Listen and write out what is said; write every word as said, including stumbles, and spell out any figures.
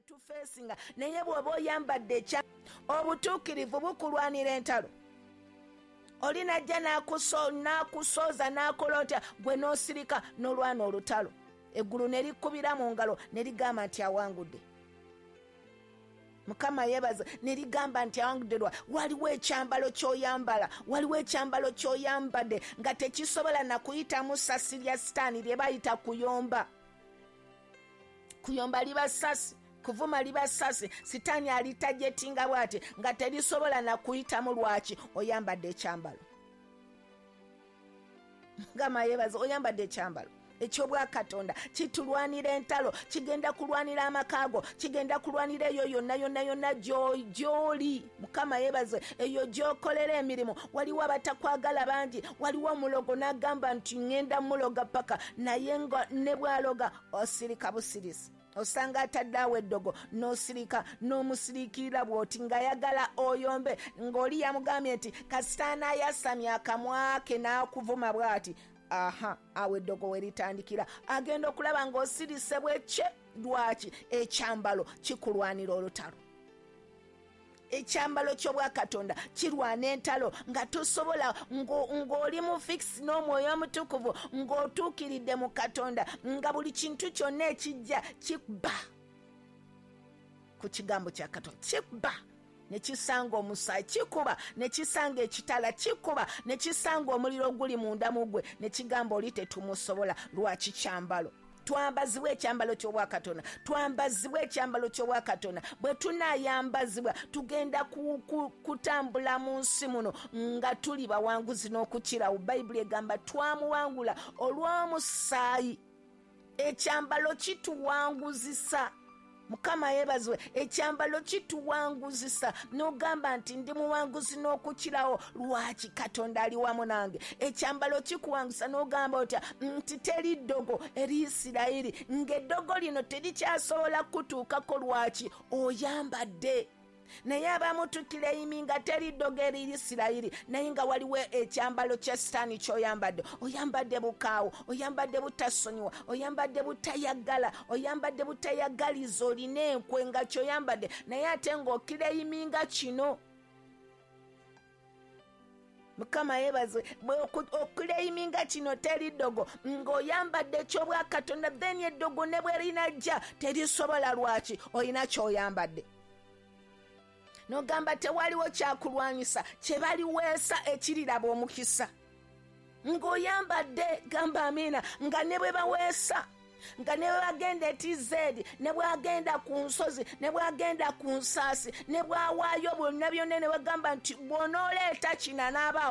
tufeesinga, naye bw'oba oyambadde ekya obutuukirivu bukulwanira entalo. Oli najja n'akusooza n'akola otya, gwe n'osirika n'olwana olutalo. Eggulu ne likubira mu ngalo ne ligamba nti awangudde. Mukama yeebaza, ne ligamba nti awangudde. Lwa waliwo ekyambalo ky'oyambala, waliwo ekyambalo ky'oyambadde nga tekisobola na kuyitamu ssasi lya sitaani lye bayita kuyomba. Kuyomba liba ssasi, kuvuma liba ssasi, sitaani alitajetinga bw'ati nga terisobola na kuyitamu. Lwaki? Oyambadde ekyambalo. Mukama yeebaza, oyambadde ekyambalo eky'obwakatonda kitulwanira entalo, kigenda kulwanira amaka go, kigenda kulwanira eyo yonna yonna yonna gy'oli. Mukama yeebaze, eyo gy'okolera emirimu. Waliwo abatakwagala bangi, waliwo omulogo n'agamba nti ŋŋenda muloga paka, naye nga ne bw'aloga osirika busirisi. Osanga atadde awo eddogo n'osirika n'omusiriikirira bw'oti ng'ayagala oyombe, ng'oli yamugambye nti kasita anaayasamya akamwa ke n'akuvuma bw'ati, aha, awo eddogo we litandikira. Agenda okulaba ng'osirise bwekye. Lwaki? Ekyambalo kikulwanira olutalo. Ekyambalo ky'obwakatonda kirwana entalo nga tosobola, ng'oli mu fix n'omwoyo omutukuvu, ng'otuukiridde mu Katonda, nga buli kintu kyonna ekijja kikuba ku kigambo kya Katonda, kikuba ne kisanga omusaayi, kikuba ne kisanga ekitala, kikuba ne kisanga omuliro oguli munda mu ggwe, ne kigamba oli tetumusobola. Lwaki? Kyambalo. Twambazibwa ekyambalo ky'obwakatonda, twambazibwa ekyambalo ky'obwakatonda. Bwe tunaayambazibwa tugenda kutambula mu nsi muno nga tuli bawanguzi n'okukirawo. Bayibuli egamba twamuwangula olw'omusaayi. Ekyambalo kituwanguzisa. Mukama yeebazibwe, ekyambalo kituwanguzisa. N'ogamba nti ndi muwanguzi n'okukirawo. Lwaki? Katonda ali wamu nange. Ekyambalo kikuwanguzisa n'ogamba otya nti teri ddogo eri Isirayiri, ng'eddogo lino terikyasobola kutuukako. Lwaki? Oyambadde. Naye abamu tukireyiminga teri ddogo eri Isirayiri, naye nga waliwo ekyambalo kya sitaani ky'oyambadde. Oyambadde bukaawo, oyambadde butasonyiwa, oyambadde butayagala, oyambadde butayagaliza, olina enkwe nga ky'oyambadde, naye ate ng'okireyiminga kino. Mukama yeebazibwe, okuleyiminga kino teri ddogo, ng'oyambadde eky'obwakatonda, then eddogo ne bwe linajja terisobola. Lwaki? Olina ky'oyambadde. N'ogamba tewaliwo kyakulwanyisa kye baliweesa ekiriraba omukisa. Ng'oyambadde, gamba amiina, nga ne bwe baweesa, nga ne bwe bagenda e T Z, ne bwagenda ku nsozi, ne bwagenda ku nsaasi, ne bwawaayo bonna byonna, ne bagamba nti bw'onooleeta kino anaaba